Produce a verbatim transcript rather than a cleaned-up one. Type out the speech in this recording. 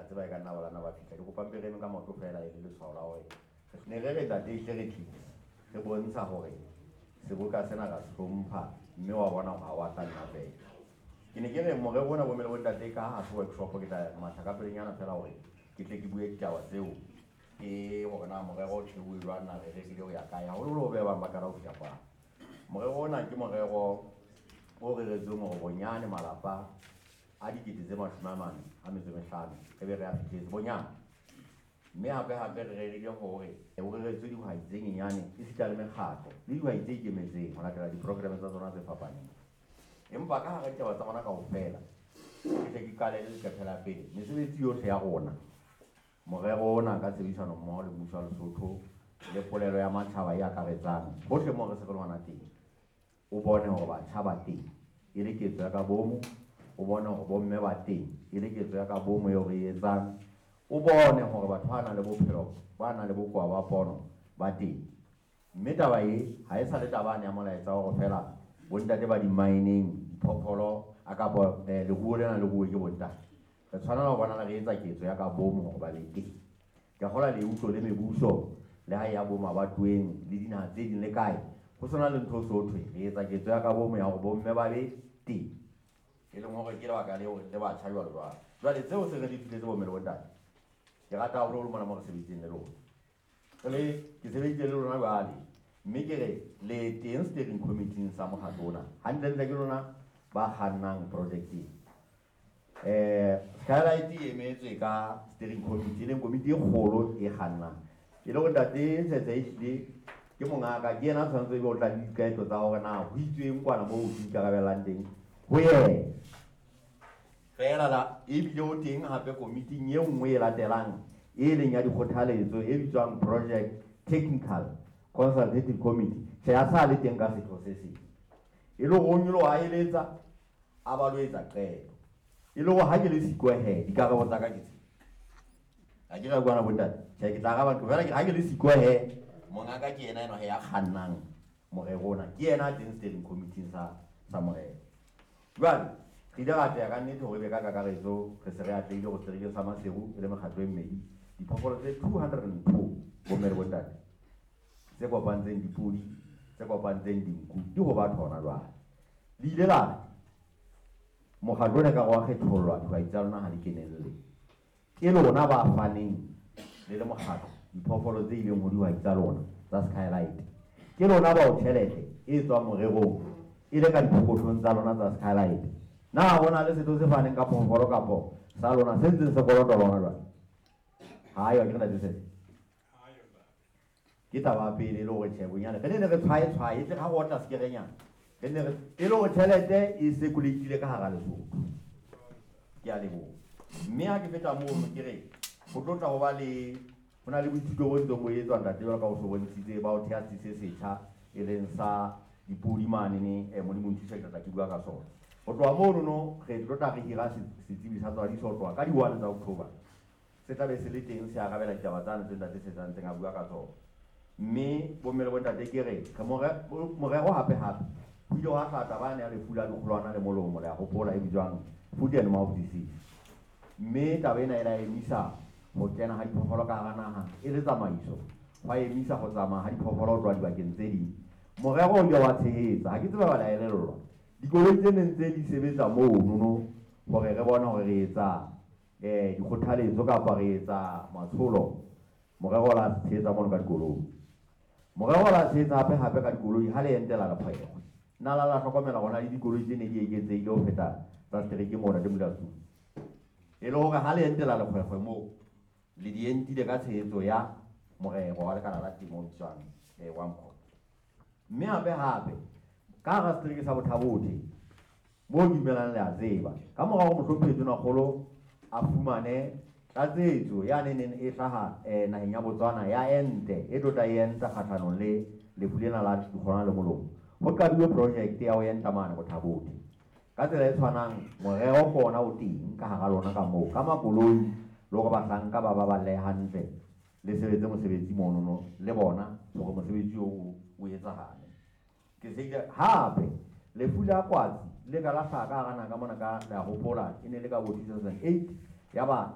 tseba e ka nna ba lana ba fihla. Ke kopa mpe re eme ka maoto feela e le letshwao la hore ne re re ntate ehlile re tlile re bontsha hore seboka sena ra se hlompha, mme wa bona hore ha wa tla nna feela. Ke ne ke re morero ona bomme le bontate, ka ha se workshop, ke tla matha ka pelenyana feela hore ke tle ke bue ditaba tseo, ke hore na morero o thehuwe jwang, na re rerile ho ya kae, haholoholo ho be bang ba qala ho fihla kwano. Morero ona ke morero o reretsweng hore bonyane malapa a dikete tse mashome a mane a metso e mehlano re be re a fihletse bonyane. Mme hape hape re rerile hore o reretswe dihwai tse nyenyane esita le mekgatlo le dihwai tse ikemetseng ho latela di-program tsa tsona tse fapaneng. Empa ka hara ditaba tsa rona kaofela, ke tle ke qale le leqephe la pele, mesebetsi yohle ya rona, morero ona ka tshebedisano mmoho le mmuso wa Lesotho le polelo ya matjhaba e akaretsang hohle moo re se re le hona teng, o bone hore batjha ba teng e le ketso ya ka bomo, o bone hore bomme ba teng e le ketso ya ka bomo eo re e etsang, o bone hore batho ba nang le bophelo, ba nang le bokowa ba pono ba teng. Mme taba e ha e sa le taba ya molaetsa wa hore feela bontate ba di-mining, diphoofolo a kapa eh, leruo lena le ruwe ke bontate. Re tshwanela ho bona re etsa ketso ya ka bomo hore ba be teng. Ke a kgolwa le utlwe le mebuso le ha e ya bo mabatoweng le dinaha tse ding le kae, ho sena le ntho so thwe re etsa ketso ya ka bomo ya hore bomme ba be teng, e leng hore ke lebaka leo le batjha jwalo jwalo. Jwale tseo se re di fihletse bomme le bontate, ke rata haholoholo mona mo re sebeditseng le lona. Re le ke sebeditse le lona jwale, mme ke re le teng steering committee sa mokgatlo ona. Hantlentle ke lona ba kgannang project e. Eh, Skylight e emetswe ka steering committee, e leng komiti e kgolo e kgannang. E le hore ntate Tshetse ehlile ke mongaka, ke yena a tshwanetse ebe o tla le diqeto tsa hore na ho itsweng kwana moo ho ikarabellang teng ho yena. Feela la ebile o teng hape komiting e nngwe e latelang e leng ya dikgothaletso e bitswang Project Technical Consultative Committee. Tjhe, a sa le teng ka setho se seng. E le hore o nyoloha a eletsa, a ba lo etsa qeto. E le hore ha ke le siko he, dikarabo tsa ka ke tse. Ha ke ra kwana bontate. Tjhe, ke tla araba ntho feela ha ke le siko he, mongaka ke yena enwa he ya kgannang morero ona. Ke yena a teng steering committee sa sa morero. Jwale re ile ra atleha ka nnete hore ebe ka kakaretso re se re atlehile hore seterekeng sa Maseru e le mekgatlo e mmedi, diphoofolo tse two hundred and two bomme le bontate tse kopantseng dipodi, tse kopantseng dinku di ho batho hona jwale. Le ile la re mokgatlo ona ekare wa kgethollwa, dihwai tsa lona ha di kenelle. Ke lona ba faneng le le mokgatlo diphoofolo tse ileng ho dihwai tsa lona tsa Skylight. Ke lona bao tjhelete e tswang morerong e le ka diphokothong tsa lona tsa Skylight. Na ho na le setho se faneng ka phoofolo kapo sa lona se ntseng se kolota lona jwale? Ha yo, ke re ntate Sese. Ke taba ya pele e le hore tjhe bonyane re ne ne re tshwae tshwae, e tle ha re otla sekerenyana. Re ne re, e le hore tjhelete e circulate-ile ka hara Lesotho. Ke a leboha. Mme ha ke feta mono ke re ho tlo tla ho ba le, ho na le boithuto bo ntseng bo etswa ntate jwalo ka o so bontshitse ba ho theha setsi se setjha e leng sa dipodi manene, eh, Modimo nthuse ke tla ke bua ka sona. Ho tloha mono no re tlo tla re hira setsebi sa tswadiso ho tloha ka di-one tsa October. Se tla be se le teng se arabela ditaba tsane tse ntate se ntseng a bua ka tsona. Mme bomme le bontate ke re, re more-, morero hape hape ho ile hwa hlaha taba yane ya lefu la dikgolwana le molomo, le a hopola, e bitswang foot and mouth disease. Mme taba ena e la emisa ho kena ha diphoofolo ka hara naha e le tsamaiso, hwa emisa ho tsamaya ha diphoofolo ho tloha dibakeng tse ding. Morero o ile wa tshehetsa, ha ke tsebe ba la elellwa. Dikoloi tse neng tse di sebetsa mono no hore re bone hore re etsa, eh, dikgothaletso kapa re etsa matsholo, morero o la tshehetsa mono ka dikoloi. Morero o la tshehetsa hape hape ka dikoloi ha le entela lekgwekgwe. Nna la la hlokomela hore na le dikoloi tse ne di eketsehile ho feta tsa setereke mona le Molatsong. E le hore ha le entela lekgwekgwe moo, le di entile ka tshehetso ya morero wa lekala la temo o bitswang, eh, wa Mkhonto. Mme hape hape ka hara setereke sa Botha-Bothe moo ke dumelang le a tseba, ka mora hore mohlomphehi Tonakgolo a fumane tlatsetso ya neng e hlaha, eh, naheng ya Botswana ya ente e tlo tla e enta kgahlanong le lefu lena la dikgolwana le molomo, ho qadilwe project ya ho enta mane Botha-Bothe. Ka tsela e tshwanang morero ke ona o teng ka hara lona ka moo, ka makoloi le hore bahlanka ba baballe hantle le sebetse mosebetsi monono le bona hore mosebetsi oo o etsahale. Ke se ile hape lefu la kwatsi le ka la hlaha ka hara naha ka mona ka, le a hopola, e ne le ka bo two thousand eight, ya ba